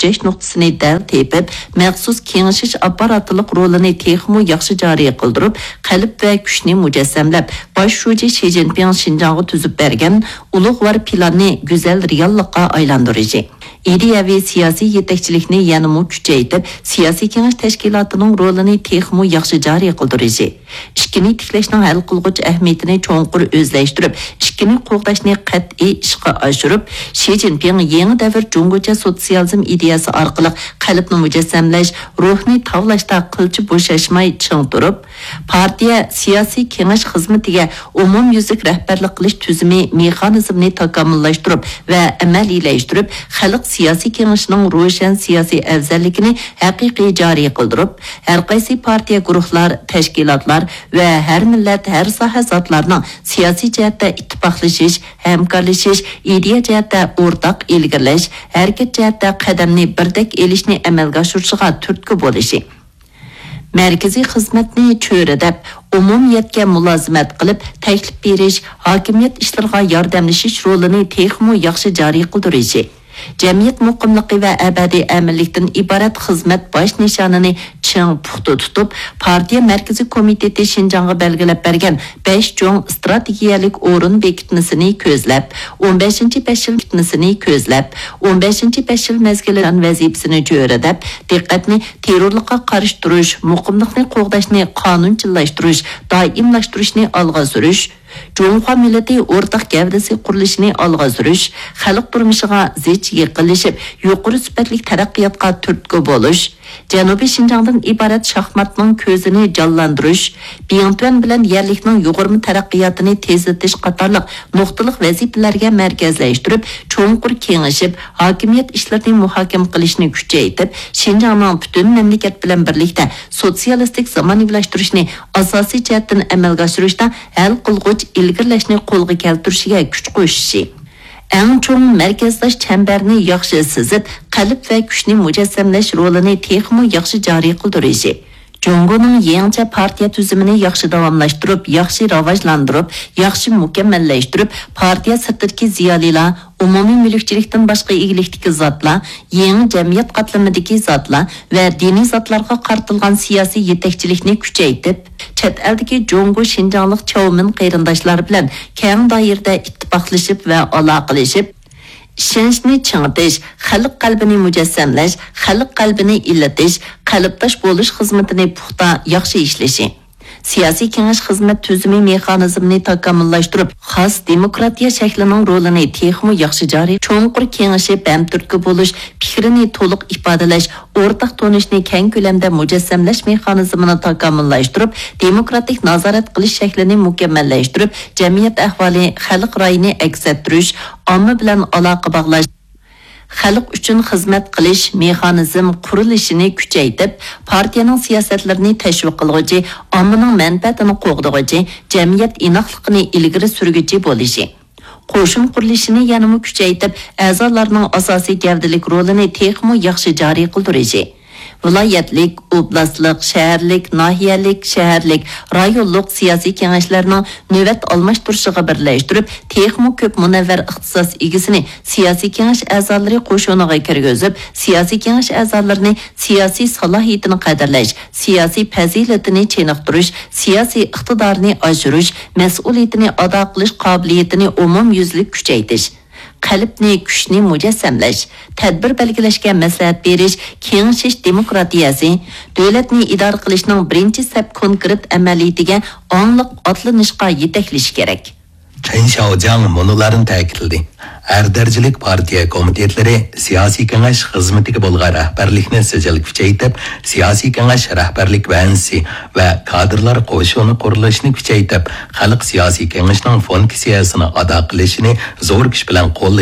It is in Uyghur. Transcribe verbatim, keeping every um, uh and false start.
كۈچەش نۇقتىسىنى دەل تېپىپ، مەخسۇس كېڭىشىش ئاپپاراتلىق رولىنى تېخىمۇ ياخشى جارى قىلدۇرۇپ، قەلب ۋە كۈچنى مۇجەسسەملەپ، باش شۇجى شى جىنپىڭ شىنجاڭغا تۈزۈپ بەرگەن ئۇلۇغۋار پىلاننى گۈزەل رېئاللىققا ئايلاندۇرۇشى، ئىدىيەۋى سىياسىي يېتەكچىلىكنى يەنىمۇ كۈچەيتىپ، سىياسىي كېڭەش تەشكىلاتىنىڭ رولىنى تېخىمۇ ياخشى جارى قىلدۇرۇشى، ئىككىنى تىكلەشنىڭ ھەل قىلغۇچ ئەھمىيىتىنى چوڭقۇر ئۆزلەشتۈرۈپ، ئىككىنى قوغداشنى قەتئىي ئىشقا ئاشۇرۇپ، شى جىنپىڭ يېڭى دەۋر جۇڭگوچە سوتسىيالىزم ئىدىيەسى ئارقىلىق قەلبنى مۇجەسسەملەش، روھنى تاۋلاشتا قىلچە بوشاشماي چىڭ تۇرۇپ، پارتىيە سىياسىي كېڭەش خىزمىتىگە ئومۇميۈزلۈك رەھبەرلىك قىلىش تۈزۈمى مېخانىزمىنى تاكامۇللاشتۇرۇپ ۋە ئەمەلىيلەشتۈرۈپ، خەلق سىياسىي كېڭىشىنىڭ روشەن سىياسىي ئەۋزەللىكىنى ھەقىقىي جارى قىلدۇرۇپ، ھەرقايسى پارتىيە، گۇرۇھلار، تەشكىلاتلار ۋە ھەر مىللەت، ھەر ساھە زاتلارنىڭ سىياسىي جەھەتتە ئىتتىپاقلىشىش، ھەمكارلىشىش، ئىدىيە جەھەتتە ئورتاق ئىلگىرىلەش، ھەرىكەت جەھەتتە قەدەمنى بىردەك ئېلىشنى ئەمەلگە ئاشۇرۇشىغا تۈرتكە بولۇشى، مەركىزىي خىزمەتنى چۆرىدەپ، ئومۇمىيەتكە مۇلازىمەت قىلىپ، تەكلىپ بېرىش، ھاكىمىيەت ئىشلىرىغا ياردەملىشىش رولىنى تېخىمۇ ياخشى جارى قىلدۇرۇشى، جەمئىيەت مۇقىملىقى ۋە ئەبەدىي ئەمىنلىكتىن ئىبارەت خىزمەت باش نىشانىنى چىڭ پۇختا تۇتۇپ، پارتىيە مەركىزىي كومىتېتى شىنجاڭغا بەلگىلەپ بەرگەن بەش چوڭ ئىستراتېگىيەلىك ئورۇن بېكىتمىسىنى كۆزلەپ، ئون بەشىنچى بەش يىل بېكىتمىسىنى كۆزلەپ، ئون بەشىنچى بەش يىل مەزگىلى ۋەزىپىسىنى چۆرىدەپ، دىققەتنى تېررورلۇققا قارشى تۇرۇش، مۇقىملىقنى قوغداشنى قانۇنچىللاشتۇرۇش، دائىملاشتۇرۇشنى ئالغا سۈرۈش، جۇڭخۇا مىللىتى ئورتاق گەۋدىسى قۇرۇلۇشىنى ئالغا سۈرۈش، خەلق تۇرمۇشىغا زىچ يېقىنلىشىپ، يۇقىرى سۈپەتلىك تەرەققىياتقا تۈرتكە بولۇش، جەنۇبىي شىنجاڭدىن ئىبارەت شاھماتنىڭ كۆزىنى جانلاندۇرۇش، بىڭتۈەن بىلەن يەرلىكنىڭ يۇغۇرما تەرەققىياتىنى تېزلىتىش قاتارلىق نۇقتىلىق ۋەزىپىلەرگە مەركەزلەشتۈرۈپ، چوڭقۇر كېڭىشىپ، ھاكىمىيەت ئىشلىرىنى مۇھاكىمە قىلىشنى كۈچەيتىپ، شىنجاڭنىڭ پۈتۈن مەملىكەت بىلەن بىرلىكتە سوتسىيالىستىك زامانىۋىلاشتۇرۇشنى ئاساسىي جەھەتتىن ئەمەلگە ئاشۇرۇشتا ھەل قىلغۇچ ئىلگىرىلەشنى قولغا كەلتۈرۈشىگە كۈچ قوشۇشى، ئەڭ چوڭ مەركەزداش چەمبەرنى ياخشى سىزىپ، قەلب ۋە كۈچنى مۇجەسسەملەش رولىنى تېخىمۇ ياخشى جارى قىلدۇرۇشى، جۇڭگونىڭ يېڭىچە پارتىيە تۈزۈمىنى ياخشى داۋاملاشتۇرۇپ، ياخشى راۋاجلاندۇرۇپ، ياخشى مۇكەممەللەشتۈرۈپ، پارتىيە سىرتىدىكى زىيالىيلار، ئومۇمىي مۈلۈكچىلىكتىن باشقا ئىگىلىكتىكى زاتلار، يېڭى جەمئىيەت قاتلىمىدىكى زاتلار ۋە دىنىي زاتلارغا قارىتىلغان سىياسىي يېتەكچىلىكنى كۈچەيتىپ، چەت ئەلدىكى جۇڭگو شىنجاڭلىق چاۋمىن قېرىنداشلار بىلەن كەڭ دائىرىدە ئىتتىپاقلىشىپ ۋە ئالاقىلىشىپ، ئىشەنچنى چىڭىتىش، خەلق قەلبىنى مۇجەسسەملەش، خەلق قەلبىنى ئىللىتىش، قەلبداش بولۇش خىزمىتىنى پۇختا، ياخشى ئىشلىشى، سىياسىي كېڭەش خىزمەت تۈزۈمى مېخانىزمىنى تاكامۇللاشتۇرۇپ، خاس دېموكراتىيە شەكلىنىڭ رولىنى تېخىمۇ ياخشى جارى، چوڭقۇر كېڭىشىپ، ھەمتۈرتكە بولۇش، پىكرىنى تولۇق ئىپادىلەش، ئورتاق تونۇشنى كەڭ كۆلەمدە مۇجەسسەملەش مېخانىزمىنى تاكامۇللاشتۇرۇپ، دېموكراتىك نازارەت قىلىش شەكلىنى مۇكەممەللەشتۈرۈپ، جەمئىيەت ئەھۋالى، خەلق رايىنى ئەكس ئەتتۈرۈش، ئامما بىلەن ئالاقە باغلاش، خەلق ئۈچۈن خىزمەت قىلىش مېخانىزم قۇرۇلۇشىنى كۈچەيتىپ، پارتىيەنىڭ سىياسەتلىرىنى تەشۋىق قىلغۇچى، ئاممىنىڭ مەنپەئەتىنى قوغدىغۇچى، جەمئىيەت ئىناقلىقىنى ئىلگىرى سۈرگۈچى بولۇشى، قوشۇن قۇرۇلۇشىنى يەنىمۇ كۈچەيتىپ، ئەزالارنىڭ ئاساسىي گەۋدىلىك رولىنى تېخىمۇ ياخشى جارى قىلدۇرۇشى، ۋىلايەتلىك، ئوبلاستلىق، شەھەرلىك، ناھىيەلىك، شەھەرلىك، رايونلۇق سىياسىي كېڭەشلەرنىڭ نۆۋەت ئالماشتۇرۇشىغا بىرلەشتۈرۈپ، تېخىمۇ كۆپ مۇنەۋۋەر ئىختىساس ئىگىسىنى سىياسىي كېڭەش ئەزالىرى قوشۇنىغا كىرگۈزۈپ، سىياسىي كېڭەش ئەزالىرىنى سىياسىي سالاھىيىتىنى قەدىرلەش، سىياسىي پەزىلىتىنى چېنىقتۇرۇش، سىياسىي ئىقتىدارىنى ئاشۇرۇش، مەسئۇلىيىتىنى ئادا قىلىش قابىلىيىتىنى ئومۇميۈزلۈك كۈچەيتىش، قەلبنى، كۈچنى مۇجەسسەملەش، تەدبىر بەلگىلەشكە مەسلىھەت بېرىش، كېڭىشىش دېموكراتىيەسى، دۆلەتنى ئىدارە قىلىشنىڭ بىرىنچى سەپ كونكرېت ئەمەلىيىتىگە ئاڭلىق ئاتلىنىشقا يېتەكلىشى كېرەك. چېن شياۋجياڭ مۇنۇلارنى تەكىتلىدى: ھەر دەرىجىلىك پارتىيە كومىتېتلىرى سىياسىي كېڭەش خىزمىتىگە بولغان رەھبەرلىكنى سىجىل كۈچەيتىپ، سىياسىي كېڭەش رەھبەرلىك ۋەنزىسى ۋە كادىرلار قوشۇنى قۇرۇلۇشىنى كۈچەيتىپ، خەلق سىياسىي كېڭىشىنىڭ فۇنكسىيەسىنى ئادا قىلىشىنى زور كۈچ بىلەن قوللىشى